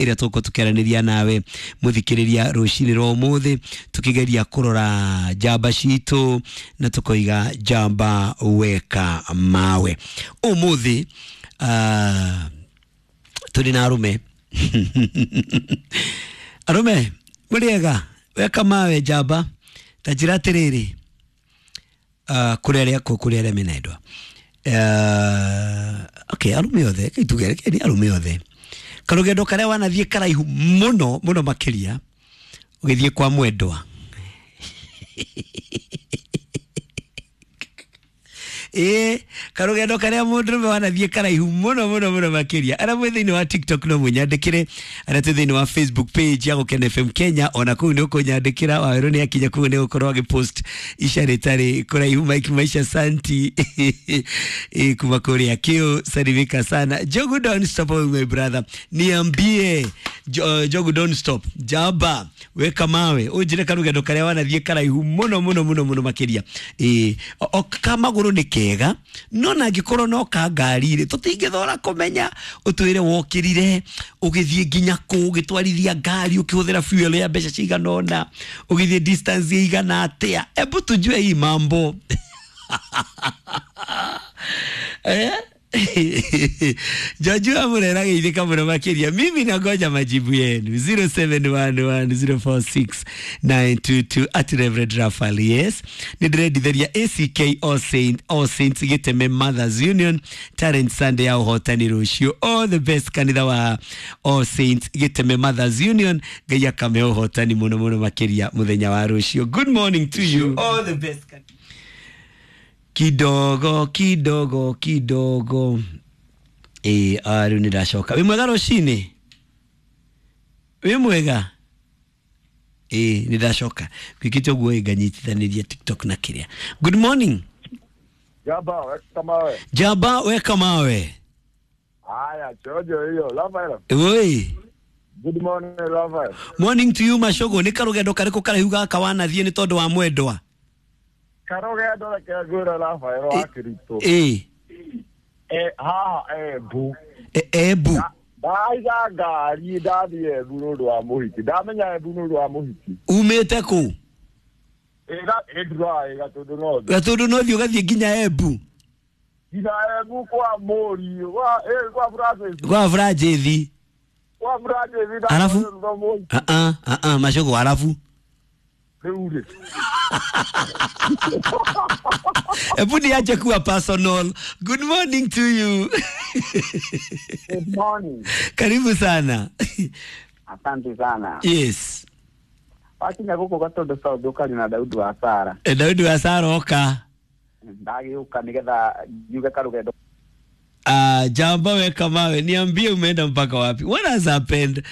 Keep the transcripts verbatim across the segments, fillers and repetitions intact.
Ĩrĩa tũgũkorwo tũkĩaranĩria nawe mũthikĩrĩria rũcinĩ rwa ũmũthĩ, tũkĩgeria kũrora njamba citũ na tũkoiga njamba weka mawe. Ũmũthĩ uh, tũrĩ na arũme. Arũme mũrĩega? Weka mawe njamba, ta njĩra atĩrĩrĩ, uh, kũrĩ arĩa kũrĩ arĩa mena endwa, uh, okay, arũme othe tuge nĩ arũme othe, karũgendo karĩa wanathiĩ karaihu mũno mũno makĩria ũgĩthiĩ kwa mwendwa? Ĩĩ, karũgendo karĩa mũndũrũme wanathiĩ karaihu mũno mũno mũno makĩria. Arĩa mwĩ thĩinĩ wa TikTok no mũnyandĩkĩre, arĩa twĩ thĩinĩ wa Facebook page ya Gũkena F M Kenya ona kũu nĩ ũkũnyandĩkĩra. Wawerũ nĩ akinya kũu nĩ gũkorwo agĩpost ica rĩtarĩ kũraihu. Mike Maisha Santi ĩ kuma kũrĩa kĩũ, salimika sana. Jogu don't stop, my brother, niambie. Jo, Jogu don't stop, jaba weka mawe, ũnjĩre karũgendo karĩa wanathiĩ karaihu mũno mũno mũno mũno makĩria. Ĩ o ka magũrũ nĩ kega, no na angĩkorwo no ka ngari rĩ, tũtingĩthora kũmenya. Ũtwĩre wokĩrire ũgĩthiĩ nginya kũ, ũgĩtwarithia ngari ũkĩhũthĩra fuel ya mbeca cigana ũna, ũgĩthiĩ distance ĩigana atĩa. Ebu tujue hii mambo, eh? Jajua murera geithĩka mũno makĩria. Mimi nangoja majibu yenu zero seven one one zero four six nine two two at Reverend Raphael. Yes, nĩ ndĩrendithĩria A C K All Saint, All Saints Gĩteme Mothers Union Talent Sunday ya ũhotani rũciũ. All the best, kanitha wa All Saints Gĩteme Mothers Union. Ngai akame ũhotani mũno mũno makĩria mũthenya wa rũciũ. Good morning to you, all the best. Kidogo kidogo kidogo. Ĩ rĩu nĩ ndacoka. Wĩ mwega rũcinĩ? Wĩ mwega? Ĩ nĩ ndacoka gwĩkĩte ũguo ĩ nganyitithanĩria TikTok na kĩrĩa. Good morning. Jaba, weka mawe. Jaba weka mawe. Haya, chojo hiyo. Rafael. Oi. Good morning, Rafael. Morning to you, Mashogo. Nĩ karũgendo karĩkũ karaihu gaka wanathiĩ nĩ tondũ wa mwendwa? Karũgendo reke ngwĩre, Rafael wa Kristo. Ĩ. Eh, haha Embu. E- Embu. Ndaiga ngari ndathiĩ Embu nĩ ũndũ wa mũhiki. Ndamenya Embu nĩ ũndũ wa mũhiki. Umĩte kũ? Ĩga ĩnduraĩ Gatũndũ North. Gatũndũ North ũgathiĩ nginya Embu? Nginya Embu kwa mũriũ, kwa eh, kwa Francis. Kwa Francis. Kwa Francis. Alafu? Ndathire. Ah ah ah ah Mashogo, alafu? Rĩu rĩ. Hebu niache kuwa personal. Good morning to you. Good morning. Karibu sana. Asante sana. Yes. Wakinya gũkũ Gatũndũ South ũkari na Daudi wa Sara. E, Daudi wa Sara oka. Ndagĩũka nĩgetha njuge karũgendo. Ah, jamba weka mawe, niambie umeenda mpaka wapi? What has happened?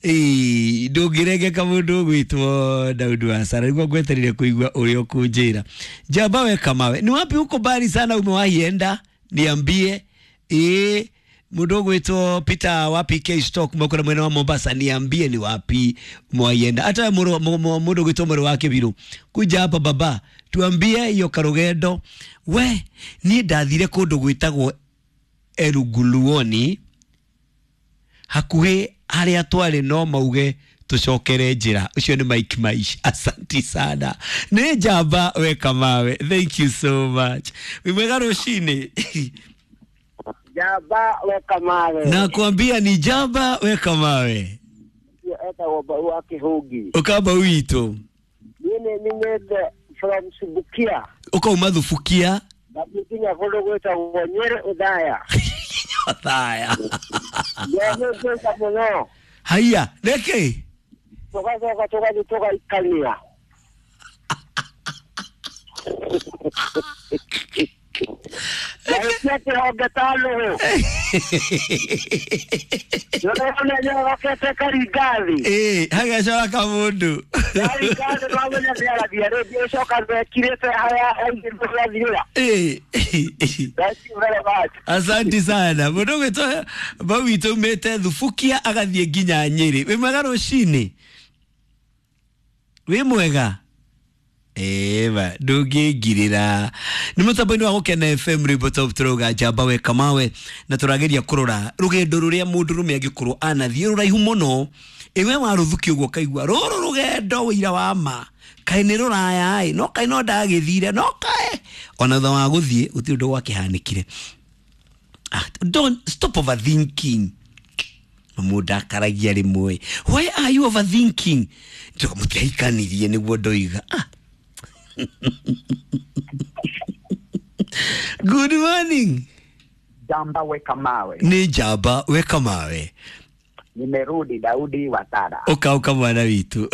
Eh, ndũngĩrengeka mũndũ ũgwĩtwo Daudi wa Sara nĩguo ngweterire kũigua ũrĩa ũkũnjĩra. Jamba weka mawe, ni wapi huko mbali sana umewahi enda? Niambie. Eh, mũndũ ũgwĩtwo Peter wa P K Stock mwakora mwena wa Mombasa, niambie ni wapi umewahi enda. Hata mũndũ mũndũ ũgwĩtwo mũrũ wa Kĩbirũ, kuja hapa baba, tuambie hiyo karũgendo. We, niĩ ndathire kũndũ gwĩtagwo Eruguluoni hakuhĩ harĩa twarĩ no mauge tũcokere njĩra. Ũcio nĩ Mike Maish, asanti sana. Nĩ njamba weka mawe, thank you so much. Wĩ mwega rũcinĩ? Jamba weka mawe. Nakwambia ni njamba weka mawe. Etagwo Mbau wa Kĩhũngi. Ũkamba witũ. Niĩ nĩ nyumĩte from Subukia. Ũkauma Thubukia. Ndathiĩ nginya kũndũ gwĩtagwo Nyĩrĩ Ũthaya. Thaya. Ndehĩngĩca mũno. Haiya, nĩkĩ? Tũgacoka tũgathiĩ tũgaikania. Ndahĩtia kĩhonge ta nũgũ. Ndĩrona nyorokete karingathi. Ĩ hagacora kamũndũ. Karingathi twamenya nĩaragia rĩngĩ ũcoka mekirĩte harĩa aingĩ tũgathirĩra. Ĩ. Thank you very much. Asante sana. Mũndũ ũgwĩtwo Mbau witũ umĩte Thubukia agathiĩ nginya Nyĩrĩ. Wĩ mwega rũcinĩ? Wĩ mwega? Eva ndũngĩngirĩra nĩ mũtambo-inĩ wa Gũkena F M rwĩmbo top tũrauga njamba weka mawe na tũrageria kũrora rũgendo rũrĩa mũndũrũme angĩkorwo anathiĩ rũraihu mũno ĩwe warũthukia ũguo ũkaigua rũrũ rũgendo wĩira wa ma kaĩ nĩ rũraya ĩ no kaĩ no ndagĩthire no kaĩ ona thutha wa gũthiĩ gũtirĩ ũndũ gwakĩhanĩkire. Ah, don't stop overthinking. Mũndũ akaragia rĩmwe, why are you overthinking? Njoka mũtiahikanirie nĩguo ndoiga. Ah. Good morning. Jamba weka mawe. Ni njamba weka mawe. Nimerudi Daudi Watara. Ũka ũka mwana witũ.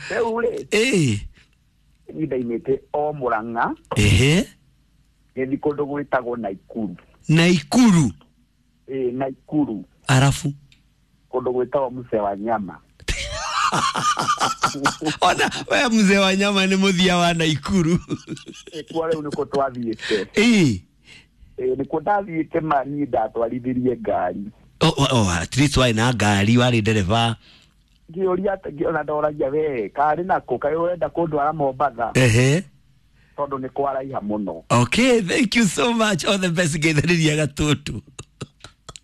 Rĩu rĩ, Ĩ. niĩ ndaimĩte o Murang'a Ehe. ngĩthiĩ kũndũ gwĩtagwo Naikuru. Naikuru. Ĩ, Naikuru Arafu. kũndũ gwĩtagwo Mzee wa Nyama. Ona we mzee wa nyama nĩ mũthia wa Naikuru. Kuo rĩu nĩkuo twathiĩte. Ĩ. Ĩ, nĩkuo ndathiĩte ma niĩ ndatwarithirie ngari. Oh, oh, oh, at least warĩ na ngari warĩ ndereba. Ngĩũria atĩ ona ndoragia we karĩ nako kaĩ ũrenda kũndwara Mombatha Ehe. tondũ nĩ kwaraiha mũno. Okay, thank you so much. All the best ngeithĩrĩria Gatũndũ.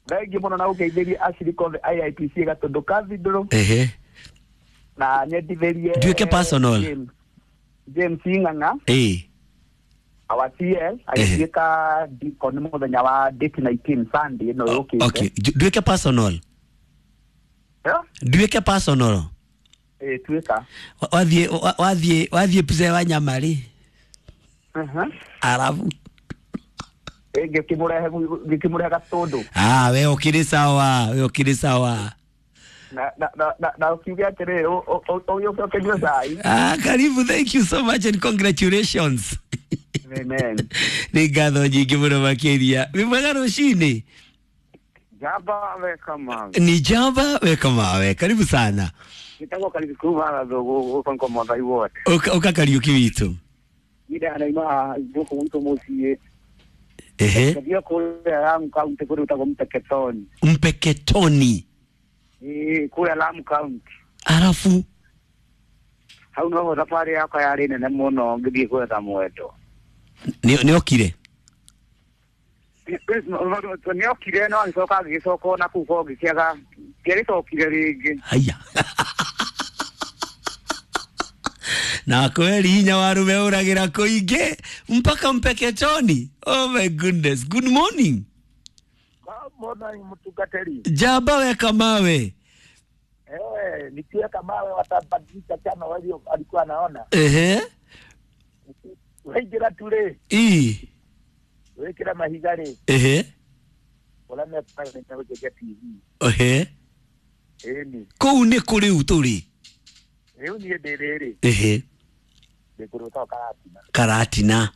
Thengiũ mũno na ũngeithĩrie acirika othe I I P C Gatũndũ Cathedral Ehe. na nyendithĩrie Nduĩke personal. James, James Ng'ang'a Ĩ. our T L agĩtuĩka deacon mũthenya wa date nineteen Sunday ĩno yũkĩte. Okay, nduĩke personal. Eh? Nduĩke personal. Ĩ, tuĩka. Wathiĩ wathiĩ wathiĩ mzee wa nyama rĩ. Mhm. Arabu. Ĩ, ngĩkĩmũrehe ngĩkĩmũrehe Gatũndũ. Ah, we ũkĩrĩ sawa, we ũkĩrĩ sawa. Na na na na, na ũkiuge atĩrĩrĩ ũgĩũke ũkĩnyue cai. Ah, karibu, thank you so much and congratulations. Amen. Nĩ ngatho nyingĩ mũno makĩria. Wĩ mwega rũcinĩ? Njamba weka mawe. Ni njamba weka mawe. Karibu sana. Nitagwo Kariuki kuma Gathugu gũkũ nĩ Mwathai wothe. Ũka ũka Kariuki witũ. Niĩ ndanaima gũkũ gwitũ mũciĩ. Ehe. Ngathiĩ kũrĩa Lamu County kũrĩa gwĩtagwo Mpeketoni. Mpeketoni. Ĩĩ, kũrĩa Lamu County. Arafu. Hau noho thabarĩ yakwa yarĩ nene mũno ngĩthiĩ gwetha mwendo. Nĩ nĩ okire? Nĩ okire no agĩcoka agĩcoka ona kũu ko ngĩkĩaga ndiagĩcokire rĩngĩ. Haya. Na kweli hinya warume ũragĩra kũingĩ mpaka Mpeketoni. Oh my goodness. Good morning. Good morning mtungateri. Njamba weka mawe. Eh, nikiweka mawe watabadilisha chama walio alikuwa anaona. Ehe. Waingira tu rĩ. Ii. Wĩkĩra mahiga rĩ. Ehe. Ũrĩa mekũhota gũcenjia T V. Ehe. Ĩni. Kũu nĩ kũ rĩu tũrĩ? Rĩu niĩ ndĩ rĩrĩ. Ehe. Ndĩ kũndũ gwĩtagwo Karatina. Karatina.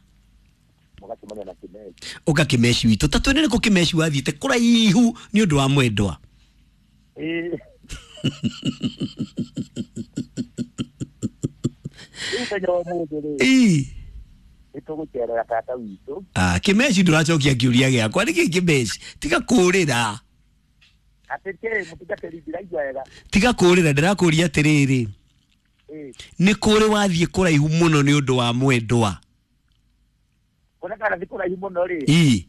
Mũgacemania na Kĩmeci. Ũka Kĩmeci witũ. Ta twĩre nĩkũ Kĩmeci wathiĩte kũraihu nĩ ũndũ wa mwendwa. Ĩĩ. Rĩu mũthenya wa ũmũthĩ rĩ. Ĩĩ. Nĩtũgũcerera tata witũ. Ah, Kĩmeci ndũracokia kĩũria gĩakwa. Nĩkĩ Kĩmeci? Tiga kũũrĩra. Atĩ kĩ, mũtungatĩri ndiraigua wega. Tiga kũũrĩra, ndĩrakũũria atĩrĩrĩ. Ĩĩ. Nĩ kũrĩ wathiĩ kũraihu mũno nĩ ũndũ wa mwendwa? Kũrĩa ndathiĩ kũraihu mũno rĩ. Ĩĩ.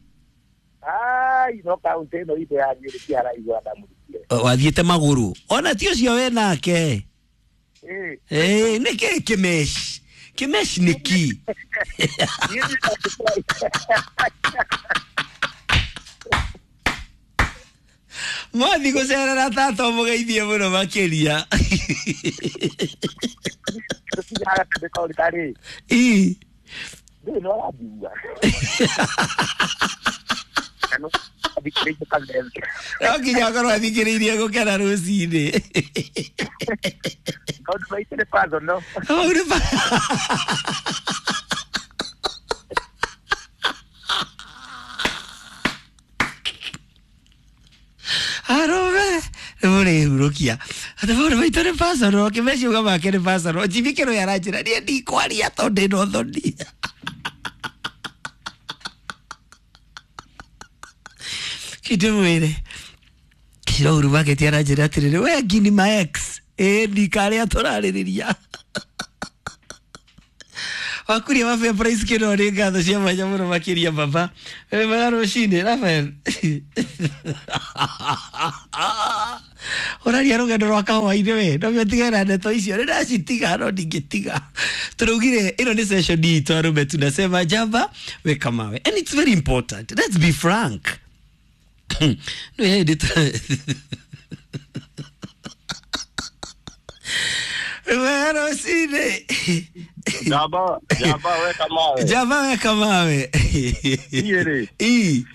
Ai, no kaũntĩ ĩno itũ ya Nyĩrĩ ti haraihu ndamũrutire. Wathiĩte magũrũ. Ona ti ũcio we nake. Ĩĩ. Ĩĩ, nĩkĩ Kĩmeci? Kĩmeci nĩ kĩ? Mwathi gũcerera tata ũmũgeithie mũno makĩria. Ĩĩ. Ndũĩ nĩ ũranjigua. No nginya akorwo athikĩrĩirie gũkena rũcinĩ. Maũndũ maitũ nĩ personal. Maũndũ ma- Arũme nĩ mũrĩhurũkia atĩ maũndũ maitũ nĩ personal. Kĩmeci uga make nĩ personal. Jimmy Kĩrũĩ aranjĩra niĩ ndikwaria tondũ ndĩna ũthoni. Kĩndĩmwĩre Kĩrouru Market aranjĩra atĩrĩrĩ we ngini ma ex ĩĩ ndikarĩa tũrarĩrĩria. Wakuria wa Fair Price kino nĩ ngatho cia mwanya mũno makĩria baba. Wĩ mwega rũcinĩ Rafael. Ũraria rũgendo rwa kahũa-inĩ we no tigana na ndeto icio nĩ ndacitiga no ndingĩtiga. Tũraugire ĩno nĩ session itũ arũme tunasema jamba weka mawe and it's very important. Let's be frank. No hĩndĩ wega rũcinĩ. Jamba, jamba weka mawe. Jamba weka mawe. Niĩ rĩ. Ii.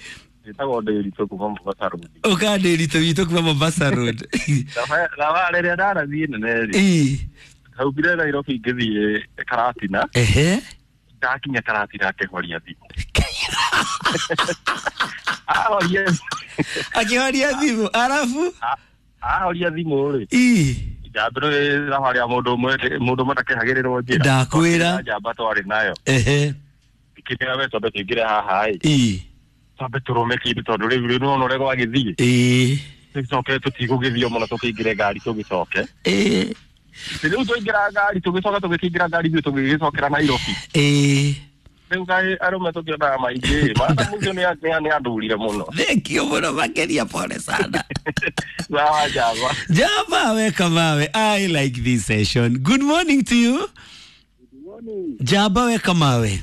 Njĩtagwo Ndĩritũ kuma Mombasa Road. Ũka Ndĩritũ witũ kuma Mombasa Road. Thabarĩ ĩrĩa ndarathiĩ nene rĩ. Ii. Ndaumire Nairobi ngĩthiĩ Karatina. Ehe. Ndakinya Karatina akĩhoria thimũ. Ahoria. Akĩhoria thimũ arabu? Ahoria thimũ rĩ. Ii. Njamba nĩ thabarĩ ya mũndũ ũmwe mũndũ ũmwe ndakehagĩrĩrwo njĩra. Ndakwĩra. Njamba twarĩ nayo. Ehe. Ngĩkĩra we twambe tũingĩre haha ĩ. Ii. Twambe tũrũme kĩndũ tondũ rĩu rĩu nĩwona ũrĩa gwagĩthiĩ. Ĩĩ. Tũcoke tũtigũgĩthiĩ mũno tũkĩingĩre ngari tũgĩcoke. Ĩĩ. Rĩu twaingĩra ngari tũgĩcoka tũgĩkĩingĩra ngari ithuĩ tũgĩgĩcokera Nairobi. Ĩĩ. Rĩu kaĩ arũme tũkĩonaga maingĩ maana mũcio nĩ andurire mũno. Thank you mũno makĩria pole sana. Sawa jamba. Jamba weka mawe. I like this session. Good morning to you. Good morning. Jamba weka mawe.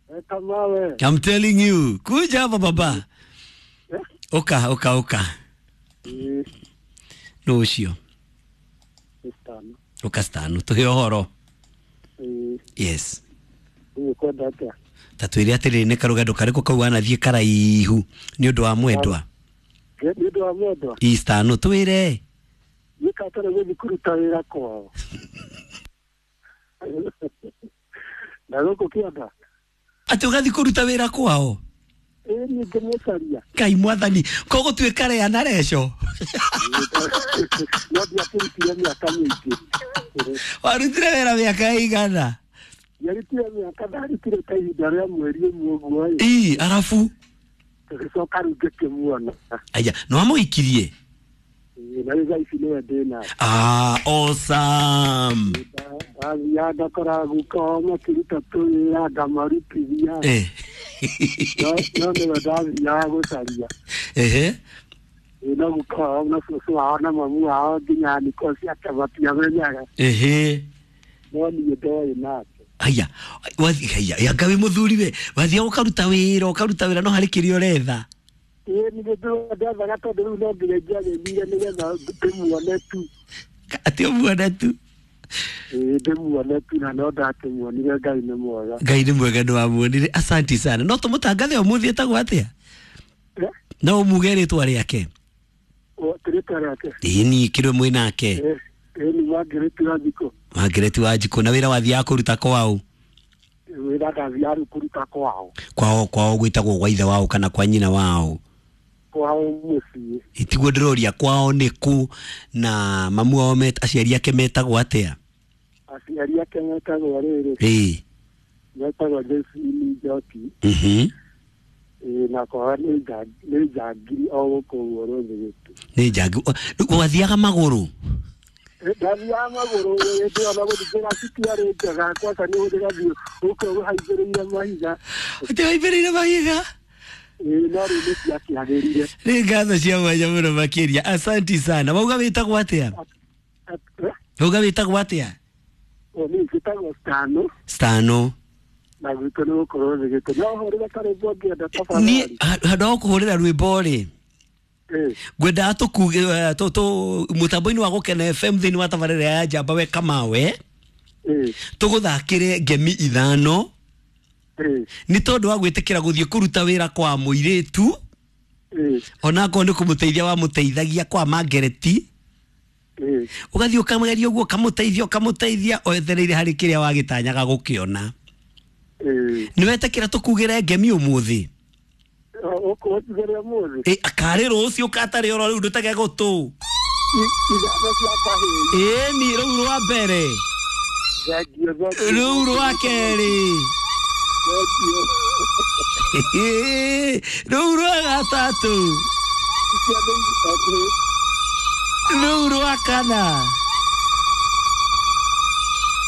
Weka mawe. I'm telling you. Kuja hapa baba. Eh? Oka, oka, oka. Eh. No ucio. Stano. Oka stano. Tuhe ũhoro. Eh. Yes. Nĩkwenda atĩa? Ta twĩre atĩrĩrĩ nĩ karũgendo karĩkũ kau wanathiĩ karaihu nĩ ũndũ wa mwendwa? Nĩ ũndũ wa mwendwa? Ĩ stano twĩre. Nĩ katarĩ gũthiĩ kũruta wĩra kwao. Na gũkũ kĩanda. Atĩ ũgathiĩ kũruta wĩra kwao? Ĩĩ niĩ ngĩmũcaria. Ngai mwathani, kũgũtuĩka rea na reco. No ndiakĩrutire mĩaka mĩingĩ. Warutire wĩra mĩaka ĩigana? Ndiarutire mĩaka, ndarutire ta ihinda rĩa mweri ũmwe ũguo ĩ. Ĩ, arabu? Tũgĩcoka rĩu ngĩkĩmuona. Aya, nĩ wamũhikirie? Ĩĩ, na rĩu thaa ici nĩwe ndĩ nake. Ah, awesome. Ndathiaga ngakora guka wao makĩruta tũwĩra ngamarutithia. Eh. No nĩwe ndathiaga gũcaria. Ehe. Ĩĩ, no guka wao na cũcũ wao na mamu wao nginya niko ciake matiamenyaga. Ehe. No niĩ ndoĩ nake. Aya, wathi haya, ya ngawe muthuri we, wathiaga ũkaruta wĩra, ũkaruta wĩra no harĩ kĩrĩa ũretha. Ĩĩ nĩ ndethaga tondũ rĩu no nginya ingĩagĩthire nĩgetha ndĩmuone tu. Atĩ ũmuone tu. Ĩĩ ndĩmuone tu na no ndakĩmuonire. Ngai nĩ mwega. Ngai nĩ mwega nĩ wamuonire. Asanti sana. No tũmũtangathe ũmũthĩ etagwo atĩa? No ũmuge rĩtwa rĩake? Rĩtwa rĩake? Ĩĩ niĩ kĩrĩ mwĩ nake. Ĩĩ nĩ Margaret Wanjikũ. Margaret Wanjikũ. Na wĩra wathiaga kũruta kwao? Wĩra ndathiaga kũruta kwao. Kwao, kwao gwĩtagwo gwa ithe wao kana kwa nyina wao? Kwao mũciĩ. Tiguo ndĩroria kwao nĩ kũ na mamu wao aciari ake metagwo atĩa? Aciari ake metagwo rĩrĩ. Ĩĩ. Metagwo Josephine Njoki. Mhm. Ĩĩ na kwao nĩ Njangiri o gũkũ ũguo Rũthĩgĩtũ. Nĩ Njangiri. Wathiaga magũrũ? Ndathiaga magũrũ hĩndĩ ĩyo na gũthiĩ njĩra citiarĩ njega kwaca nĩ ũgathiĩ gũkũ ũhaicĩrĩire mahiga. Atĩ ũhaicĩrĩire mahiga? Ĩĩ no rĩu nĩ ciakĩagĩrire. Nĩ ngatho cia mwanya mũno makĩria. Asanti sana. Wauga wĩtagwo atĩa? Wauga wĩtagwo atĩa? Niĩ njĩtagwo Stano. Stano. Na gwitũ nĩ gũkũ Rũthĩgĩtũ. No hũrĩre karwĩmbo ũngĩenda tafadhali. Niĩ handũ ha gũkũhũrĩra rwĩmbo rĩ, ngwendaga tũkuge mũtambo-inĩ wa Gũkena F M thĩinĩ wa tabarĩra ya Njamba Weka Mawe, tũgũthakĩre ngemi ithano nĩ tondũ wa gwĩtĩkĩra gũthiĩ kũruta wĩra kwa mũirĩtu onakorwo nĩ kũmũteithia wamũteithagia kwa Margaret, ũgathiĩ ũkamũgeria ũguo ũkamũteithia ũkamũteithia wetereire harĩ kĩrĩa wagĩtanyaga gũkĩona. Nĩ wetĩkĩra tũkugĩre ngemi ũmũthĩ? Ũkũnjugĩre ũmũthĩ? Ĩ karĩ rũciũ katarĩ oro rĩu ndũtege gũtũ. Ithano cia kahĩĩ. Ĩni rũu rwa mbere. Thengiũ, thengiũ. Rũu rwa kerĩ. Thengiũ. Rũu rwa gatatũ. Icio nĩ ithatũ. Rũu rwa kana.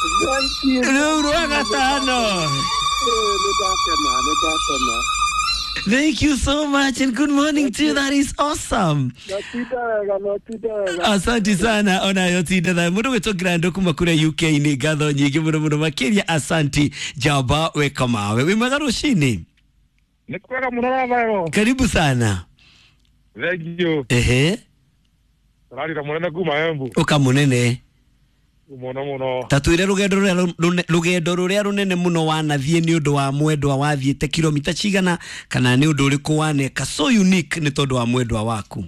Thank you. Rĩu rwa gatano. Eh, nĩ ndakena, nĩ ndakena. Thank you so much and good morning to you. That is awesome. Notinda wega, notinda wega. Asante sana onayo tinda thayo mũndũ gwĩtwo Grando kuma kũrĩa U K, nĩ ngatho nyingĩ mũno mũno makĩria. Asanti jamba, weka mawe wĩ mwega rũcinĩ. Nĩ kwega mũno rathayo. Karibu sana. Thank you. Ehe. Tũrarira mũnene kuma Embu. Ũka mũnene. Mũno mũno. Ta twĩre rũgendo rũrĩa rũne- rũgendo rũrĩa rũnene mũno wanathiĩ nĩ ũndũ wa mwendwa, wathiĩte kilomita cigana, kana nĩ ũndũ ũrĩkũ waneka so unique nĩ tondũ wa mwendwa waku?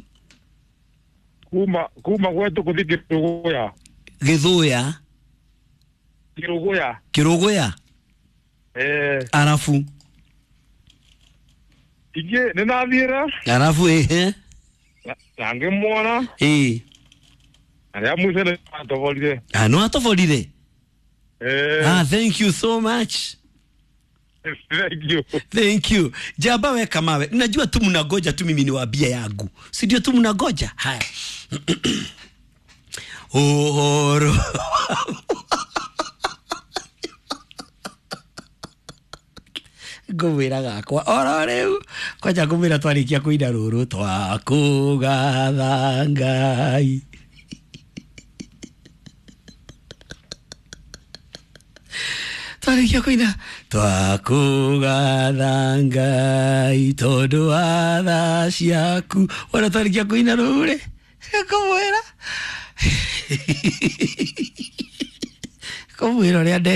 Kuma kuma gwetu kũthiĩ Kĩrũgũya. Gĩthũya? Kĩrũgũya. Kĩrũgũya. Eh. Arabu? Ingĩ nĩ nathiĩre Arabu, ehe. na- na ngĩmuona Ĩĩ. na rĩa mũico nĩ atoborire. Ah, nĩ watoborire? Eh. Ah, thank you so much. Thank you. Thank you. Jaba, weka mawe. Najua tu mnagoja tu mimi niwaambie yangu. Si ndio tu mnagoja? Haya. Uhoro. Ngũmwĩra gakwa oro rĩu kwanja ngũmwĩra twarĩkia kũina rũrũ twakũgatha Ngai. Twarĩkia kũina twakũgatha Ngai tondũ wa tha ciaku, wona twarĩkia kũina rũu rĩ, ngũmwĩra ngũmwĩra ũrĩa nde